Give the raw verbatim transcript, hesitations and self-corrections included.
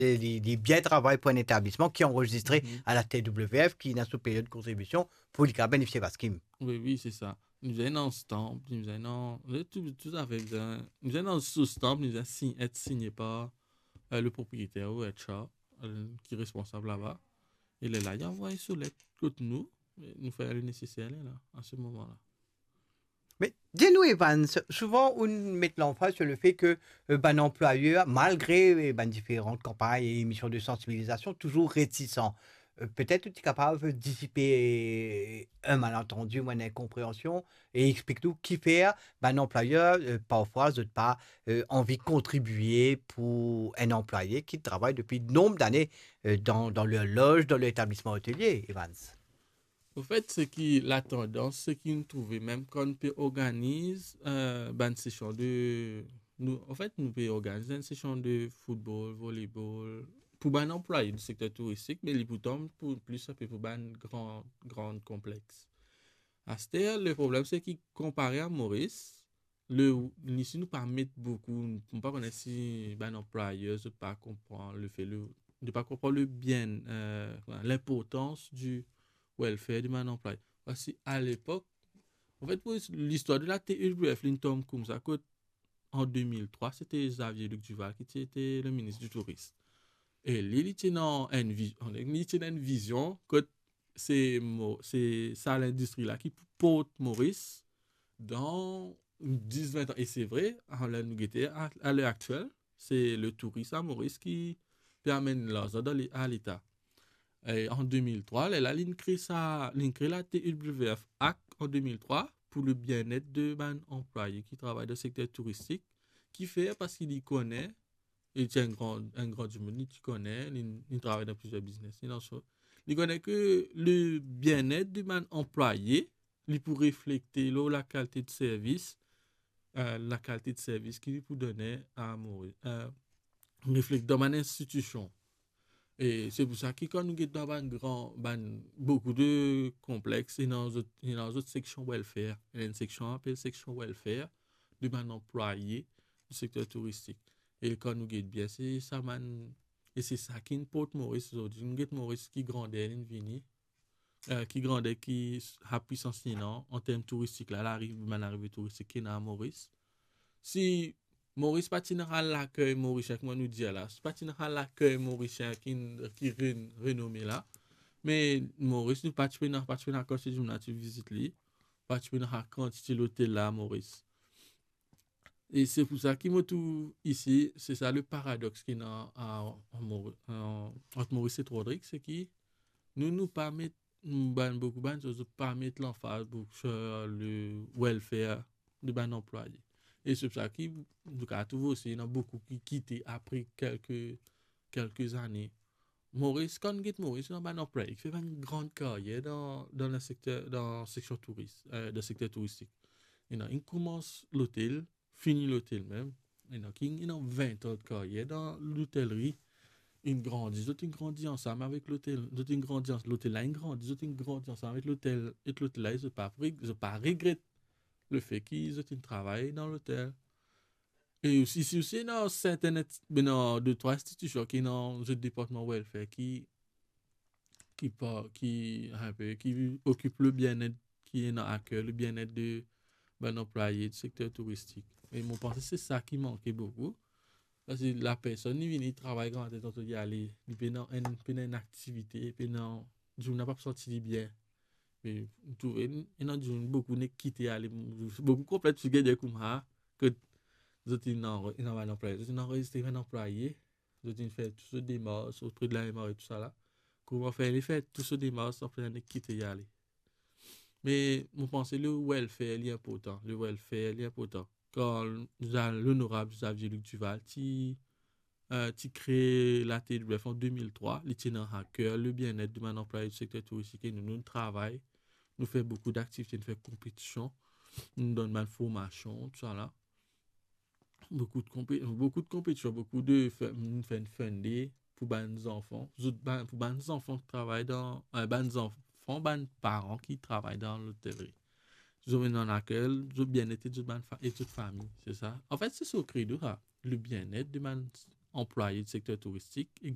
E li, li bien travay pou enn etablisman ki anrezistre Mhm. a la T W F, ki ena so period kontribision pou li kapav benefisir Baskim. Wi, wi, se sa. Nou bizin enn stamp, nou bizin enn, nou bizin tou, tou zafer, bizin, nou bizin enn so stamp, nou bizin sign, et signé par euh, le propriétaire ou H R euh, ki responsab laba. E lerla, li anvoy so let kot nou, e nou fer le neseser lerla, a se moman la. Me dir nou, Evans, souvan ou met lanfaz sur le fait que euh, bann anplwayer, malgre euh, bann diferan kanpagn e emision de sansibilizasion, touzour retisan. Euh, petet ou ti kapav disipe euh, enn malantandi ou enn inkonpreansion e explik nou kifer bann anplwayer euh, parfwa zot pa euh, anvi kontribie pou enn anplwaye ki travay depi nonb dane euh, dan, dan lor loz, dan lor etablisman otelie, Evans. Anfet, seki latandans, seki nou trouve, mem kan nou pe organiz euh, bann sesion de... Nou, anfet, nou pe organiz enn sesion de football, volleyball, pou bann anplwaye di sekter touristik, me li pou tom pou, plis inpe pou bann gran, gran konplex. Aster, le problem, seki konpare a Moris, le, isi nou pa met boukou, nou pa kone si bann anplwayer zot pa konpran le fe, le, zot pa konpran le bien, euh, linportans di welfare di bann anplwaye. Parski a lepok, anfet, pou listwar de la T W F, li tom koumsa, kot an de mil trwa, se te Xavier Luc Duval ki ti ete le minis di touris. E li, li ti ena enn vi-, li ti ena enn vizion kot se Mo-, se sa lindistri la ki pou port Moris dan dis, vin an. E se vre, a ler nou gete, a, a ler aktiel, se le touris a Moris ki pe amenn larzan dan le-, a Leta. E an de mil trwa, lerla, li kre sa, li kre la T W F Act an de mil trwa pou le bien-être de bann anplwaye ki travay dan sekter touristik, ki fer parski li kone, e ti enn gran, enn gran dimoun, li ti kone, li, li travay dan plizier biznes, li dan so, li kone ke le bien-être de bann anplwaye, li pou reflekte lor lakalite de servis, euh, lakalite de servis ki li pou done a Moris, euh, reflekte dan bann institision. E se pou sa ki kan nou get dan bann gran, bann, boukou de konplex, ena zot, ena zot seksion welfare, ena enn seksion apel seksion welfare de bann anplwaye di sekter touristik. E kan nou get bien, se sa bann, e se sa ki port Moris zordi. Nou get Moris ki grander li vini, euh, ki grander ki s-, sa pwisans li ena an term touristik la, lariv, bann larive touristik ki ena a Moris. Si Moris pa ti ena lakey Morisien, kouma nou dir la, si pa ti ena lakey Morisien ki, ki re-, renome la, me Moris, nou pa ti pena, pa ti pena kantite dimoun la ti vizit li, pa ti pena kantite lotel la Moris. E se pou sa ki mo trouv isi, se sa le paradox ki ena a, a Mor-, a, ant Moris ek Rodrig, seki nou, nou pa met, nou bann, boukou bann, zot pa met lanfaz boukou sur le welfare de bann anplwaye. E se pou sa ki, nou kapav trouv osi, ena boukou ki kite apre kelke, kelke zane. Moris, kan nou get Moris, ena bann anplwaye ki fer bann gran karyer dan, dan le sekter, dan seksion touris, euh, dan sekter touristik. Ena, inn koumans lotel, fini lotel mem. Ena ki ena vin an de karyer dan lotelri. Inn grandi, zot inn grandi ansam avek lotel, zot inn grandi ans-, lotel la inn grandi, zot inn grandi ansam avek lotel, ek lotel la, zot pa reg-, zot pa regret le fe ki zot inn travay dan lotel. E osi, isi osi, ena serten et-, ena de, trwa institision ki ena zot departman welfare ki, ki pa, ki, inpe, ki okip le bien-être, ki ena a ker le bien-être de bann anplwaye di sekter touristik. E mo panse se sa ki manke boukou. Parski lapersonn, li vini travay Gran Tet, li ale, li pena enn, pena enn aktivite, pena, dimoun la pa santi li bien. Me nou trouve, ena dimoun, boukou nek kite ale, boukou konplex, ti gete kouma, ke zot inn anre-, inn anrezistre bann anplwaye, zot inn fer tou so demars opre de la M R E, tou sa la. Kouma fer, li fer tou so demars, apre nek kite ale. Me mo panse le welfare li inportan, le welfare li inportan. Kan Za-, lonorab Xavier Luc Duval ti, euh, ti kre la T W F an de mil trwa, li ti ena a ker le bien-être de bann anplwaye di sekter touristik, e nou, nou travay, nou fer boukou daktivite, nou fer konpetision, nou donn bann formasion, tou sa la. Boukou de konpe-, boukou de konpetision, boukou de fe-, nou fer enn fun day pou bann zanfan, zot bann, pou bann zanfan ki travay dan, euh, bann zanfan, bann paran ki travay dan lotelri. Zot amenn an a ker zot bien-être zot bann fa-, e zot fami, se sa. Anfet, se so kredo sa, le bien-être de bann anplwaye di sekter touristik ek